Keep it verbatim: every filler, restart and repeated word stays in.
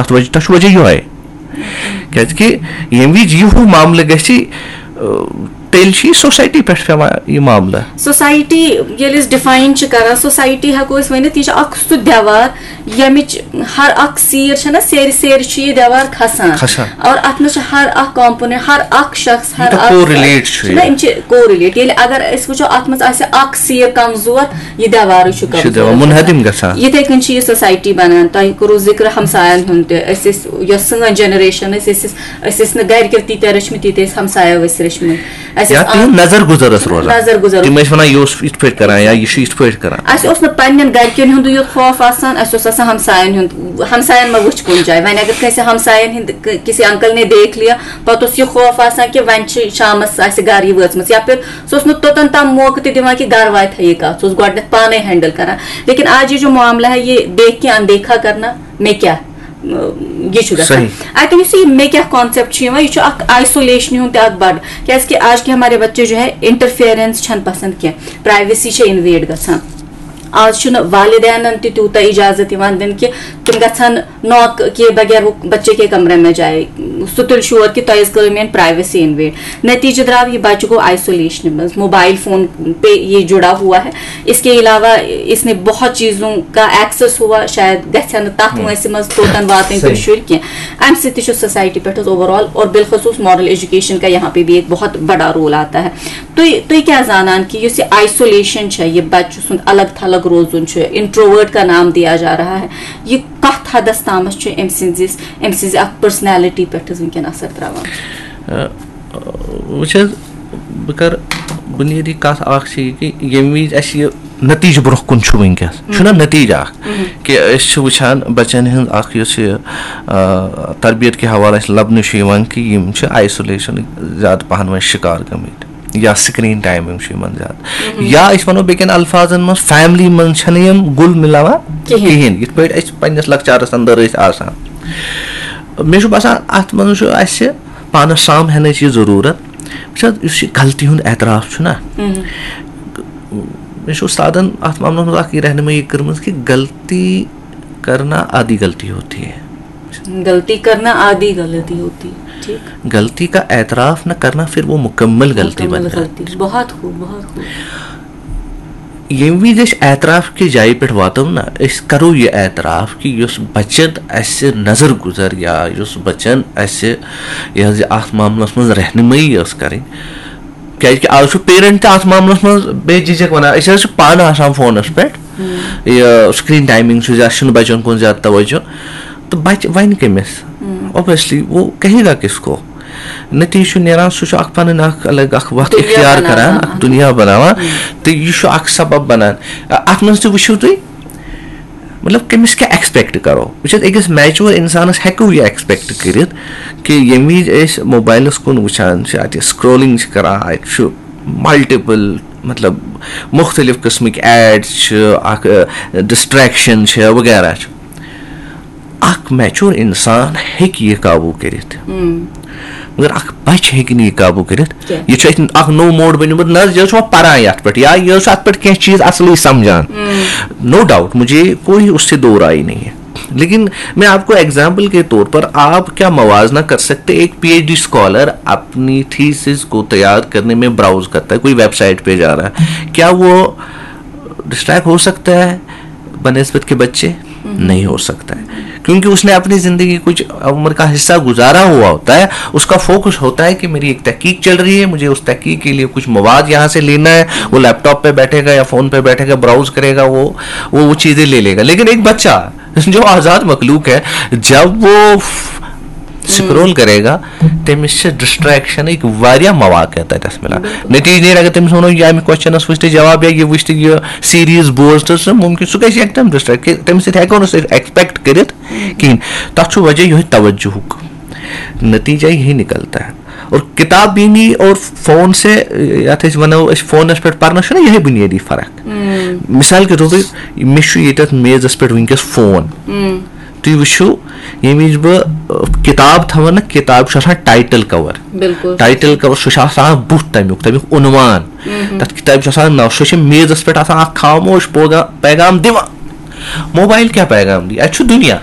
تَتھ وجہ، تَتھ چھُ وجہ یِہوٚے۔ کیٛازِکہِ ییٚمہِ وِزِ یہِ ہیوٗ معاملہٕ گژھِ، آ، تیٚلہِ چھُ یہِ سوسایٹی پٮ۪ٹھ پٮ۪وان یہِ معاملہٕ۔ سوسایٹی ییٚلہِ أسۍ ڈِفاین چھِ کران، سوسایٹی ہٮ۪کو أسۍ ؤنِتھ، یہِ چھُ اکھ سُہ دیوار، ییٚمِچ ہر اکھ سیٖر چھےٚ نہ، سیرِ سیرِ چھُ یہِ دیوار کھسان۔ کھسان۔ اور اتھ منٛز چھُ ہر اکھ کمپوننٹ، ہر اکھ شخص، ہر یوٗتاہ اکھ correlate چھُ چھُنہ، یہِ۔ یِم چھِ correlate۔ ییٚلہِ اگر أسۍ وٕچھو، اتھ منٛز آسہِ اکھ سیٖر کمزور، یہِ دیوارٕے چھُ یہِ چھُ کمزور دیوار آسان۔ منہدم گژھان۔ یِتھے کٔنۍ چھِ یہِ سوسایٹی بنان۔ تۄہہِ کوٚروٕ ذِکر ہمساین ہُنٛد تہِ۔ أسۍ ٲسۍ، یۄس سٲنۍ جنریشن ٲسۍ، أسۍ ٲسۍ، أسۍ ٲسۍ نہٕ گرِکٮ۪و تیٖتیٛاہ رٔچھمٕتۍ، ییٖتیٛاہ أسۍ ہمسایو ٲسۍ رٔچھمٕتۍ۔ اَسہِ یا ٲس تِہُنٛد عام نظر گُزر ٲس روزان۔ نظر گُزر۔ تِم ٲسۍ وَنان، "یہِ اوس یِتھ پٲٹھۍ کران" یا "یہِ چھُ یِتھ پٲٹھۍ کران"۔ اَسہِ اوس نہٕ پننٮ۪ن گرِکٮ۪ن ہُنٛدُے یوت خوف آسان، اَسہِ اوس آسان ہمساین ہُنٛد۔ ہمساین ما وٕچھ کُنہِ جایہِ، وۄنۍ اگر کٲنٛسہِ ہمساین ہِنٛدۍ ک-، کسی انکل نے دیکھ لیا، پتہٕ اوس یہِ خوف آسان کہِ وۄنۍ چھِ شامس آسہِ گرٕ یہِ وٲژمٕژ، یا پھر سُہ اوس نہٕ توٚتن تام موقعہٕ تہِ دِوان کہِ گرٕ واتہِ ہا یہِ کتھ، سُہ اوس گۄڈٕنٮ۪تھ پانے ہینڈل کران۔ لیکن آج یہ جو معاملہ ہے، یہ دیکھ کے اندیکھا کرنا، میں کیا، اہ، یہِ چھُ گژھان۔ صحیح۔ اتہِ یُس یہِ مےٚ کیٛاہ concept چھُ یِوان، یہِ چھُ اکھ آیسولیشنہِ ہُنٛد تہِ اکھ بڑ، کیٛازِ کہِ آج کے ہمارے بچے جو ہے انٹرفیئرنس چھَنہٕ پسند کینٛہہ، پرایویسی چھےٚ invade گژھان۔ آز چھُنہٕ والدینن تہِ تیوٗتاہ اجازت یِوان دِنہٕ کہِ تِم گژھن ناک کیے بغیر وہ بچے کے کمرے میں جائے، سُہ تُلہِ شور کہِ تۄہہِ حظ کٔرٕو میٛٲنۍ privacy invade۔ نتیجہ درٛاو یہِ بچہٕ گوٚو آیسولیشنہِ منٛز، موبائل فون پہ یہ جڑا ہوا ہے۔ اس کے علاوہ اس نے بہت چیزوں کا ایکسس ہوا، شاید گژھِ ہا نہٕ تتھ وٲنٛسہِ منٛز توتن واتٕنۍ تِم صحیح۔ شُرۍ کینٛہہ۔ امہِ سۭتۍ تہِ چھُ سوسایٹی پٮ۪ٹھ حظ overall اور بالخصوص moral education کا یہاں پہ بھی ایک بہت بڑا رول آتا ہے۔ تُہۍ، تُہۍ کیٛاہ زانان کہِ یُس یہِ آیسولیشن چھےٚ، یہِ بچہٕ سُنٛد الگ تھلگ روزُن چھُ، انٹروورٹ کا نام دیا جا رہا ہے، یہِ کتھ حدس تامتھ چھُ أمۍ سٕنٛزِس، أمۍ سٕنٛزِ اکھ پرسنیلٹی پٮ۪ٹھ حظ وٕنکیٚن اثر تراوان؟ آ، وٕچھ حظ، بہٕ کَرٕ بُنیٲدی کَتھ اَکھ چھِ یہِ کہِ ییٚمہِ وِزِ اَسہِ یہِ نٔتیٖجہٕ برٛونٛہہ کُن چھُ وٕنکیٚس، چھُنہ نٔتیٖجہٕ اَکھ کہِ أسۍ چھِ وٕچھان بَچَن ہٕنٛز اَکھ یۄس یہِ، آ، تربیت کہِ حوالہٕ اَسہِ لَبنہٕ چھُ یِوان کہِ یِم چھِ آیسولیشنٕکۍ زیادٕ پَہَن وۄنۍ شِکار گٔمٕتۍ یا سِکریٖن ٹایمِنٛگ چھُ یِمَن زیادٕ۔ یا أسۍ وَنو بیٚکٮ۪ن الفاظَن منٛز، فیملی منٛز چھَنہٕ یِم گُل مِلاوان کِہیٖنۍ۔ کِہیٖنۍ، یِتھ پٲٹھۍ أسۍ پنٛنِس لۄکچارَس اندر ٲسۍ آسان۔ مےٚ چھُ باسان، اَتھ منٛز چھُ اَسہِ پانَس سام ہٮ۪نٕچ یہِ ضروٗرت۔ وٕچھ حظ، یُس یہِ غلطی ہُنٛد اعتراف چھُ نہ، مےٚ چھُ اُستادَن اَتھ معاملَس منٛز اَکھ یہِ رہنمٲیی کٔرمٕژ کہِ غلطی کرنا آدھی غلطی ہوتی ہے۔ غلطی کرنا آدھی غلطی ہوتی ہے، ٹھیک۔ غلطی کا اعتراف نہ کرنا، پھر وہ مکمل غلطی مکمل بن جاتی ہے۔ غلطی۔ بہت خوب، بہت خوب۔ ییٚمہِ وِزِ أسۍ اعتراف کہِ جایہِ پٮ۪ٹھ واتو نہ، أسۍ کرو یہِ اعتراف کہِ یُس بچن اَسہِ نظر گُزر یا یُس بچن اَسہِ یہِ حظ یہِ اَتھ معاملس منٛز رہنمٲیی ٲس کرٕنۍ، کیازِ کہِ آز چھُ پیرنٹ تہِ اَتھ معاملس منٛز بے جھجک ونان، أسۍ حظ چھِ پانہٕ آسان فونس پٮ۪ٹھ، یہِ سکرین ٹایمنگ چھُ زیادٕ، چھُنہٕ بچن کُن زیادٕ توجہ، تہٕ بچہِ ونہِ کٔمِس؟ اوبویسلی وہ کہے گا کس کو؟ نتیجہ چھُ نیران، سُہ چھُ اکھ پنٕنۍ اکھ الگ اکھ وتھ دُنیا اختیار بناوان۔ کران، اکھ دُنیا بناوان، تہٕ یہِ چھُ اکھ سبب بنان۔ ا-، اتھ منٛز تہِ وٕچھِو تُہۍ، مطلب، کٔمِس کیٛاہ ایکسپیکٹ کرو؟ وٕچھ حظ، أکِس میچور انسانس ہٮ۪کو یہِ ایکسپیکٹ کٔرِتھ کہِ ییٚمہِ وِزِ أسۍ موبایلس کُن وٕچھان چھِ، اتہِ سکرولنگ چھِ کران، اتہِ چھُ ملٹیپل، مطلب، مختلف قٕسمٕکۍ ایڈ چھِ، اکھ، ڈسٹریکشن چھِ وغیرہ چھِ۔ اکھ میچور انسان ہیٚکہِ یہِ قابوٗ کٔرِتھ، مگر اکھ بچہِ ہیٚکہِ نہٕ یہِ قابوٗ کٔرِتھ۔ کینٛہہ۔ یہِ چھُ اَسہِ اکھ نوٚو موڈ بنیومُت۔ نہ حظ، یہِ حظ چھُ وۄنۍ پران یتھ پٮ۪ٹھ، یا یہِ حظ چھُ اتھ پٮ۪ٹھ کینٛہہ چیٖز اصلٕے سمجھان۔ نو ڈاؤٹ، مجھے کوئی اس سے دو رائے نہیں ہے، لیکن میں आपको एग्जाम्पल के तौर पर आप क्या موازنہ कर सकते, एक पीएचडी स्कॉलर अपनी थीसिस को तैयार करने में ब्राउज करता है, कोई वेबसाइट पे जा रहा है, क्या वो डिस्ट्रैक्ट हो सकता है बनस्बत के बच्चे? नहीं हो सकता है, क्योंकि उसने अपनी जिंदगी कुछ उम्र का हिस्सा गुजारा हुआ होता है। उसका फोकस होता है कि मेरी एक तहकीक चल रही है, मुझे उस तहकीक के लिए कुछ मवाद यहाँ से लेना है। वो लैपटॉप पे बैठेगा या फोन पे बैठेगा, ब्राउज करेगा, वो वो वो चीजें ले लेगा। लेकिन एक बच्चा जो आजाद मखलूक है, जब वो स्क्रॉल करेगा, تٔمِس چھِ ڈسٹریکشنٕکۍ واریاہ مواقع تَتٮ۪س مِلان۔ نتیجہ نیرِ، اگر تٔمِس وَنو، ییٚمہِ کوسچنس وٕچھ تہٕ جواب یا یہِ وٕچھ تہٕ یہِ سیریز بوز تہٕ سُہ مُمکِن سُہ گژھِ یکدم ڈسٹریکٹ، تٔمِس سۭتۍ ہٮ۪کو نہٕ أسۍ ایکسپیکٹ کٔرِتھ کِہیٖنۍ۔ تَتھ چھُ وجہ یِہوٚے توجہُک، نتیجہ یہی نکلتا ہے۔ اور کتاب بینی اور فون سے، یَتھ أسۍ وَنو أسۍ فونس پٮ۪ٹھ پَرنَس چھُنہ یِہوٚے بُنیٲدی فرق۔ مثال کے طور پر، مےٚ چھُ ییٚتٮ۪تھ میزَس پٮ۪ٹھ وٕنکیٚس فون۔ تُہۍ وٕچھِو، ییٚمہِ وِزِ بہٕ، اَ، کِتاب تھاوَن نہ، کِتاب چھُ آسان ٹایٹل کور۔ بِلکُل۔ ٹایٹل کور، سُہ چھُ آسان بُتھ تَمیُک، تَمیُک عنوان۔ تَتھ کِتابہِ چھُ آسان ناو، سُہ چھُ میزَس پٮ۪ٹھ آسان اکھ خاموش پوگا-، پیغام دِوان۔ موبایل کیٛاہ پیغام دی؟ اَتہِ چھُ دُنیا۔